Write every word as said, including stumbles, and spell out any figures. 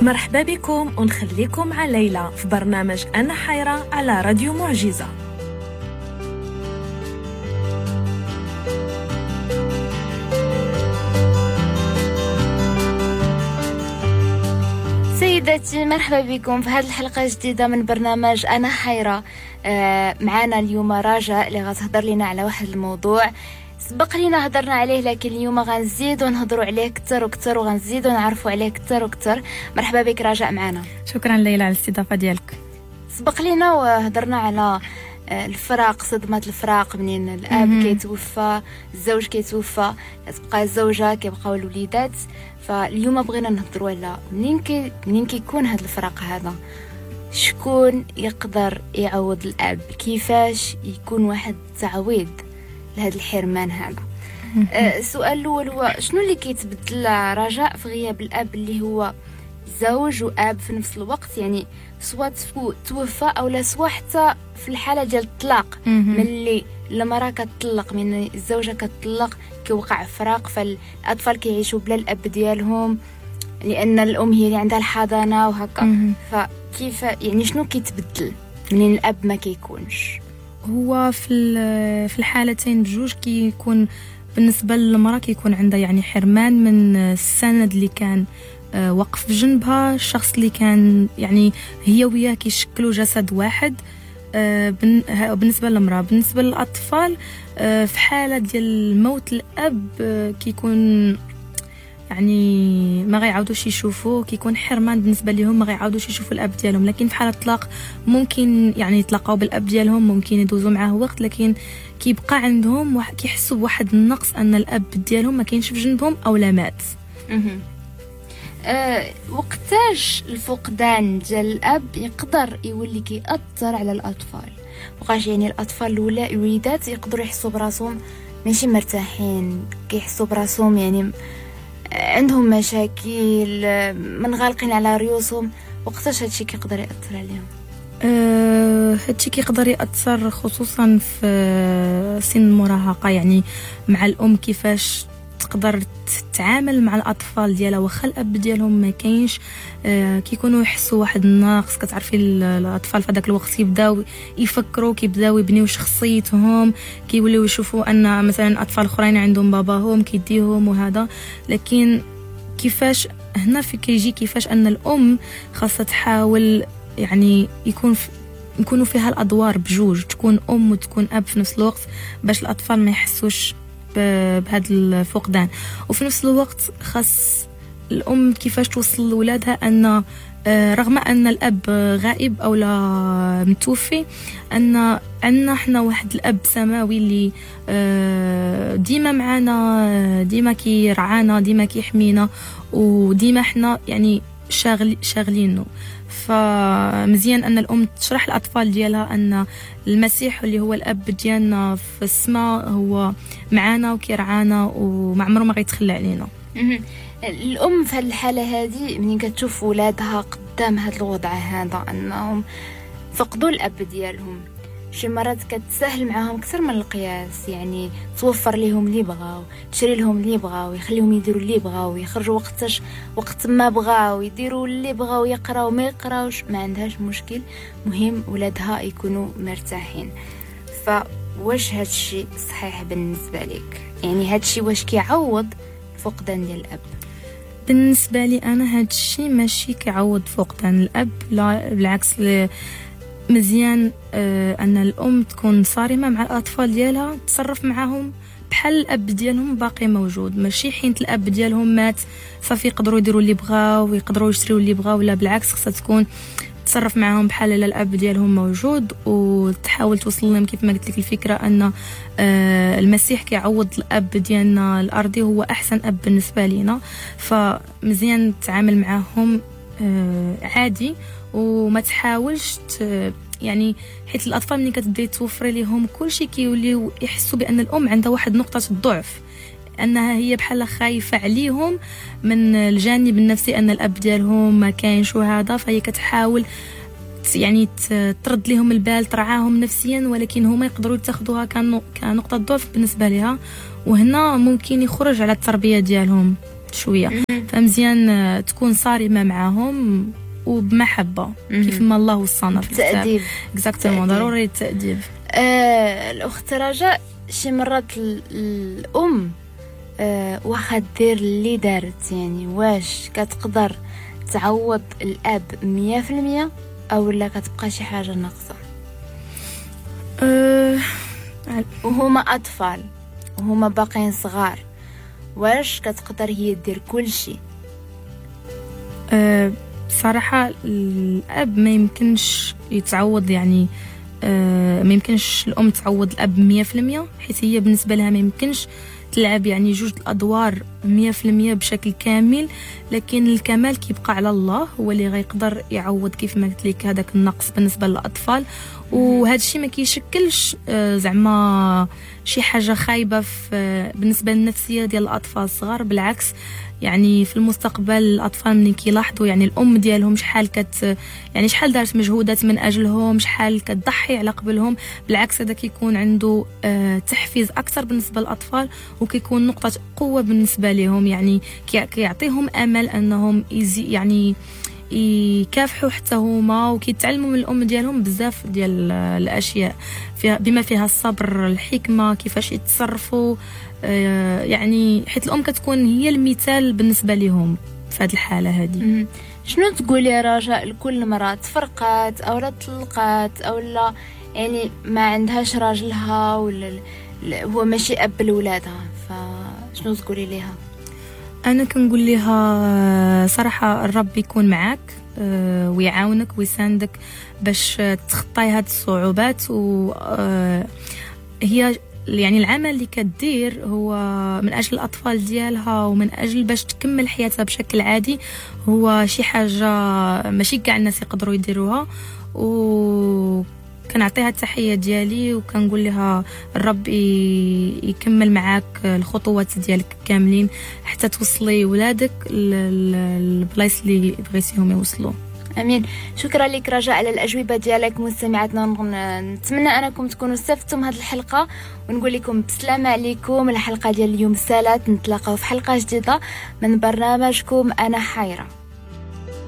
مرحبا بكم ونخليكم مع ليلى في برنامج أنا حيرة على راديو معجزة. سيداتي مرحبا بكم في هذه الحلقة الجديدة من برنامج أنا حيرة. آه معنا اليوم رجاء اللي غتهضر لنا على واحد الموضوع سبق لينا هضرنا عليه، لكن اليوم غنزيدو نهضروا عليه اكثر واكثر وغنزيدو نعرفوا عليه اكثر واكثر. مرحبا بك رجاء معنا. شكرا ليلى على الاستضافة ديالك. سبق لينا وهضرنا على الفراق، صدمة الفراق منين الاب كيتوفى، الزوج كيتوفى، كتبقى الزوجة، كيبقاو الوليدات. فاليوم بغينا نهضروا على منين كي منين كيكون هذا الفراق هذا، شكون يقدر يعوض الاب، كيفاش يكون واحد التعويض لهذا الحرمان هذا. السؤال الاول هو شنو اللي كيتبدل رجاء في غياب الاب اللي هو زوج واب في نفس الوقت، يعني سواء توفى او لا سواء حتى في الحالة ديال الطلاق، ملي المراة كتطلق، من الزوجة كتطلق كيوقع فراق، فالاطفال كيعيشوا بلا الاب ديالهم لان الام هي اللي عندها الحضانة وهكا. فكيف يعني شنو كيتبدل منين الاب ما كيكونش؟ هو في في الحالتين بجوج كيكون بالنسبة للمراة كيكون عندها يعني حرمان من السند اللي كان وقف جنبها، الشخص اللي كان يعني هي وياه كيشكلوا جسد واحد بالنسبة للمراة. بالنسبة للاطفال في حاله ديال موت الاب كيكون يعني ما غيعاودوش يشوفوه، كيكون حرمان بالنسبة لهم، ما غيعاودوش يشوفوا الاب ديالهم. لكن في حاله الطلاق ممكن يعني يتلاقاو بالاب ديالهم، ممكن يدوزوا معاه وقت، لكن كيبقى عندهم كيحسوا بواحد النقص ان الاب ديالهم ما كاينش في جنبهم او لا مات. أه وقتاش الفقدان ديال الاب يقدر يولي كيأثر على الاطفال؟ وقاش يعني الاطفال الولا الوليدات يقدروا يحسوا براسهم ماشي مرتاحين، كيحسوا براسهم يعني عندهم مشاكل، منغلقين على ريوسهم. وقتاش هادشي كيقدر يأثر عليهم؟ أه هادشي كيقدر يأثر خصوصا في سن المراهقة، يعني مع الام كيفاش تقدر تتعامل مع الاطفال ديالها واخا الاب ديالهم ما كاينش. آه كيكونوا يحسوا واحد النقص. كتعرفي الاطفال في هذاك الوقت كيبداو يفكروا، كيبداو يبنيو شخصيتهم، كيوليو يشوفوا ان مثلا اطفال اخرين عندهم باباهم كيديهم وهذا. لكن كيفاش هنا في كيجي كيفاش ان الام خاصها تحاول يعني يكون في يكونوا فيها الادوار بجوج، تكون ام وتكون اب في نفس الوقت باش الاطفال ما يحسوش بهذا الفقدان. وفي نفس الوقت خاص الأم كيفاش توصل لولادها أن رغم أن الأب غائب أو لا متوفي، أن عندنا حنا واحد الأب سماوي اللي ديما معنا، ديما كيرعانا، ديما كيحمينا، وديما حنا يعني شاغل شاغلينه. فمزيان ان الام تشرح الاطفال ديالها ان المسيح اللي هو الاب ديالنا في السماء هو معانا وكيرعانا وما عمره ما غيتخلى علينا. الام في الحالة هذه منين كتشوف ولادها قدام هذا الوضع هذا انهم فقدوا الاب ديالهم، شي مرات كتسهل معاهم اكثر من القياس، يعني توفر لهم اللي بغاو، تشري لهم اللي بغاو، يخليهم يديروا اللي بغاو، يخرجوا وقتاش وقت ما بغاو، يديروا اللي بغاو، يقراو ما يقراوش، ما عندهاش مشكل، مهم ولادها يكونوا مرتاحين. فواش هادشي صحيح بالنسبة لك؟ يعني هادشي واش كيعوض فقدان ديال الاب؟ بالنسبة لي انا هادشي ماشي كيعوض فقدان الاب، لا بالعكس. مزيان ان الام تكون صارمة مع الاطفال ديالها، تصرف معاهم بحال الاب ديالهم باقي موجود، ماشي حين الاب ديالهم مات صافي يقدروا يديروا اللي بغاو ويقدروا يشريوا اللي بغاو، لا بالعكس خصها تكون تصرف معاهم بحال الا الاب ديالهم موجود، وتحاول توصل لهم كيف ما قلت لك الفكرة ان المسيح كيعوض الاب ديالنا الارضي، هو احسن اب بالنسبة لينا. فمزيان تتعامل معاهم عادي وما تحاولش يعني حيت الاطفال ملي كتبداي توفري لهم كلشي كيوليو يحسوا بان الام عندها واحد نقطة الضعف، انها هي بحال خايفة عليهم من الجانب النفسي ان الاب ديالهم ما كاينش وهذا، فهي كتحاول يعني ترد لهم البال، ترعاهم نفسيا، ولكن هما يقدروا يتاخذوها كنقطه ضعف بالنسبة لها، وهنا ممكن يخرج على التربية ديالهم شوية. فمزيان تكون صارمة معاهم وبمحبه كيف ما الله وصانا في الكتاب. التأديب exactement، ضروري التأديب. آه الاخت رجاء، شي مرات الام آه واخا دير اللي دارت، يعني واش كتقدر تعوض الاب مية في المية او لا كتبقى شي حاجة ناقصه؟ أه وهما اطفال وهما باقيين صغار، واش كتقدر هي دير كل شيء؟ أه صراحة الاب ما يمكنش يتعوض، يعني أه ما يمكنش الام تعوض الاب مية في المية، حيت هي بالنسبة لها ما يمكنش تلعب يعني جوج الادوار مية في المية بشكل كامل. لكن الكمال كيبقى على الله، هو اللي غيقدر يعوض كيف ما قلت لك هذاك النقص بالنسبة للاطفال. وهذا الشيء ما كيشكلش زعما شي حاجة خايبة في بالنسبة للنفسيه ديال الاطفال الصغار، بالعكس يعني في المستقبل الاطفال ملي كيلاحظوا يعني الام ديالهم شحال كت يعني شحال دارت مجهودات من اجلهم، شحال كتضحي على قبلهم، بالعكس هذا كيكون عنده تحفيز اكثر بالنسبة للاطفال، وكيكون نقطة قوة بالنسبة لهم، يعني كيعطيهم امل انهم يعني يكافحوا حتى هما، وكيتعلموا من الام ديالهم بزاف ديال الاشياء فيها بما فيها الصبر، الحكمة، كيفاش يتصرفوا، يعني حيت الام كتكون هي المثال بالنسبة لهم في هذه الحالة هذه. شنو تقولي يا رجاء لكل مرأة تفرقات او لا طلقات او لا يعني ما عندهاش راجلها ولا هو ماشي اب لولادها، فشنو تقولي ليها؟ انا كنقول لها صراحة الرب يكون معاك ويعاونك ويساندك باش تخطاي هاد الصعوبات. و هي يعني العمل اللي كدير هو من اجل الاطفال ديالها ومن اجل باش تكمل حياتها بشكل عادي، هو شي حاجة ماشي كاع الناس يقدروا يديروها. و كنعطيها التحية ديالي وكنقول لها الرب يكمل معاك الخطوات ديالك كاملين حتى توصلي ولادك للبلايص اللي بغيتيهم يوصلوا. امين. شكرا لك رجاء على الاجوبة ديالك. مستمعاتنا نتمنى انكم تكونوا استفدتم هذه الحلقة، ونقول لكم بسلامه عليكم. الحلقة ديال اليوم سالات، نتلاقاو في حلقة جديدة من برنامجكم انا حيره.